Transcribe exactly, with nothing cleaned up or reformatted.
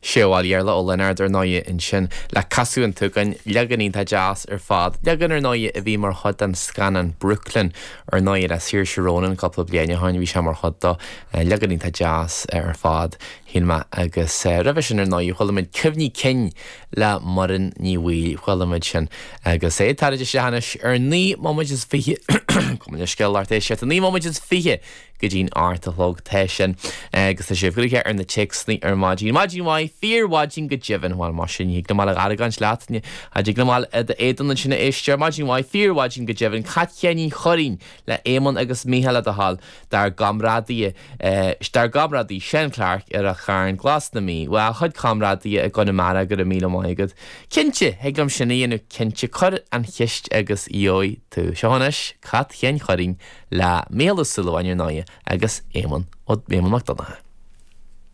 Sé bhuel Iarla Ó Lionáird ar ndóigh ansin le Casadh an tSúgáin, leagan iontach deas ar fad. Leagan ar ndóigh a bhí mar chuid den scannán Brooklyn ar ndóigh le Saoirse Ronan cúpla bliain ó shin bhí sé mar chuid dó. Leagan iontach deas ar fad shíl mé agus roimhe sin ar ndóigh chuala muid Cuimhní Cinn le Muireann Ní Bhaoill chuala muid sin agus é tar éis anois ar naoi nóiméad is fiche Gabh mo leithscéal lucht éisteachta naoi nóiméad is fiche go dtí'n ocht a chlog tá sin agus tá sibh gnoitheach ar na téacsanna ar maidin. Maidin mhaith fíormhaidin go deimhin bhuel mar sin ní thig liom a argóint leat a dtig liom éadan sin a éisteoir Maidin mhaith fíormhaidin go deimhin Cat Sheáinín Churraoin le Éamonn agus Mícheál le do thoil dár gcomrádaí dár gcomrádaí Seán Clark ar Ráth Chairn Glas na Mí, Bhuel chuid comrádaí i gConamara go raibh míle maith agat. Cinnte, thig liom sin a dhéanamh cinnte cuir an cheist agus gheobhaidh tú. Seo anois Cat Sheáin Churraoin le Mícheál Ó Súilleabháin ar ndóigh agus Éamonn Ó Éamonn Mac Donncha.